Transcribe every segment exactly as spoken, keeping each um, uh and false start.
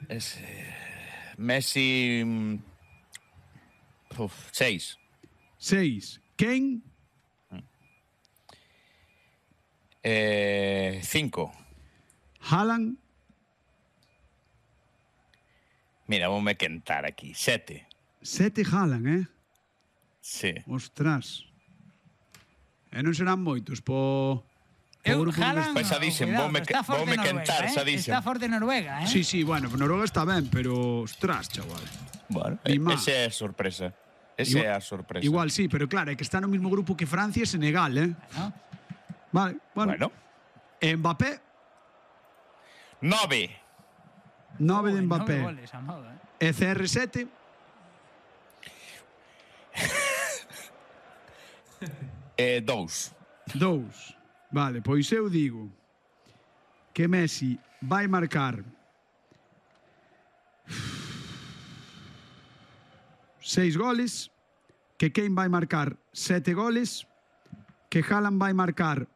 Es, Messi... Uf, seis. Seis. Kane? Eh, cinco. Haaland? Mira, vou me quentar aquí. Sete. Sete Haaland, eh? Sí. Ostras. E non serán moitos po... Eu, Haaland, Pesadísimo, vou me, vou me quentar, eh? sadísimo. Está forte Noruega, eh? Sí, sí, bueno, Noruega está ben, pero... Ostras, chaval. Bueno, Ni esa é a sorpresa. Esa é a sorpresa. Igual sí, pero claro, é que está no mismo grupo que Francia e Senegal, eh? ¿No? Vale, bueno. Bueno. Mbappé? Nove. Nove de Uy, Mbappé. nove goles a modo, eh? E C R sete? eh, dous. Dous. Vale, pois eu digo que Messi vai marcar seis goles, que Kane vai marcar sete goles, que Haaland vai marcar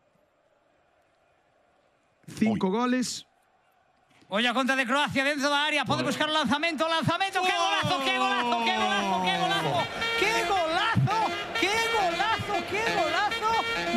cinco Uy. goles. Oye, a contra de Croacia dentro da área, pode buscar o lanzamento, lanzamento, que golazo, que golazo, que golazo, que golazo, que golazo, que golazo, que golazo.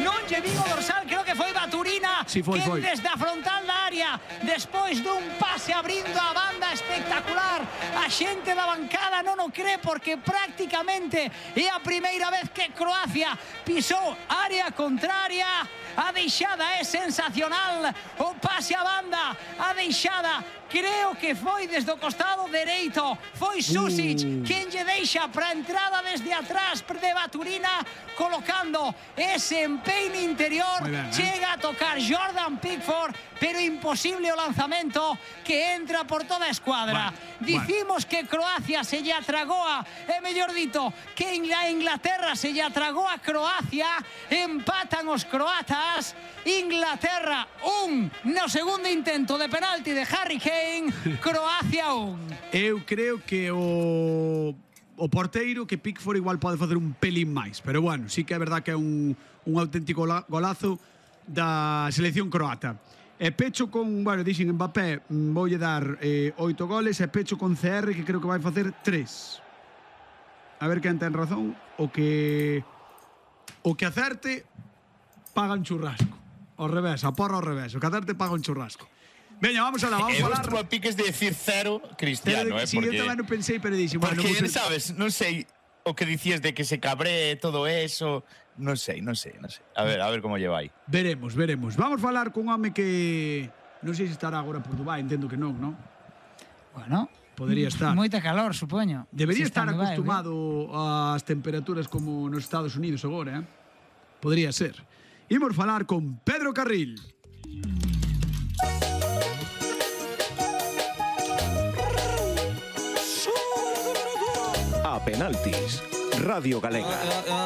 Non lle vin o dorsal, creo que foi Baturina, Sí, foi, que foi. desde a frontal da área, despois dun pase abrindo a banda espectacular, a xente da bancada non o cree porque prácticamente é a primeira vez que Croacia pisou área contraria. A deixada é sensacional, o pase a banda, a deixada creo que foi desde o costado dereito, foi Susic Uh. quen lle deixa para a entrada desde atrás de Baturina, colocando ese empeine interior, Muy bien, eh. chega a tocar Jordan Pickford, pero imposible o lanzamento que entra por toda a escuadra. Bueno, Dicimos que Croacia se lle atragou a, é mellor dito, que a Inglaterra se lle atragou a Croacia, empatan os croatas, Inglaterra un no segundo intento de penalti de Harry Kane, Croacia un. Eu creo que o o porteiro que Pickford igual pode facer un pelín máis, pero bueno, sí que é verdad que é un, un auténtico golazo da selección croata. E pecho con, bueno, dixen Mbappé, voulle dar eh, oito goles, e pecho con C R, que creo que vai facer tres. A ver quen ten razón, o que o que acerte paga un churrasco. Ao revés, a porra ao revés, o que acerte paga un churrasco. Veña, vamos alá, vamos Eu falar. estuvo a piques de decir cero Cristiano, eh, Si porque... eu tamén non pensei, pero dixen, bueno, Porque, non sei. sabes, non sei o que dicías de que se cabree todo eso, non sei, non sei, non sei. A ver, a ver como lle vai. Veremos, veremos. Vamos falar cun home que non sei se estará agora por Dubai, entendo que non, non? Bueno, Podería estar. moita calor, supoño. Debería Si estar está en Dubai, acostumado ás temperaturas como nos Estados Unidos agora, eh? Podría ser. Imos falar con Pedro Carril. A penaltis, Radio Galega.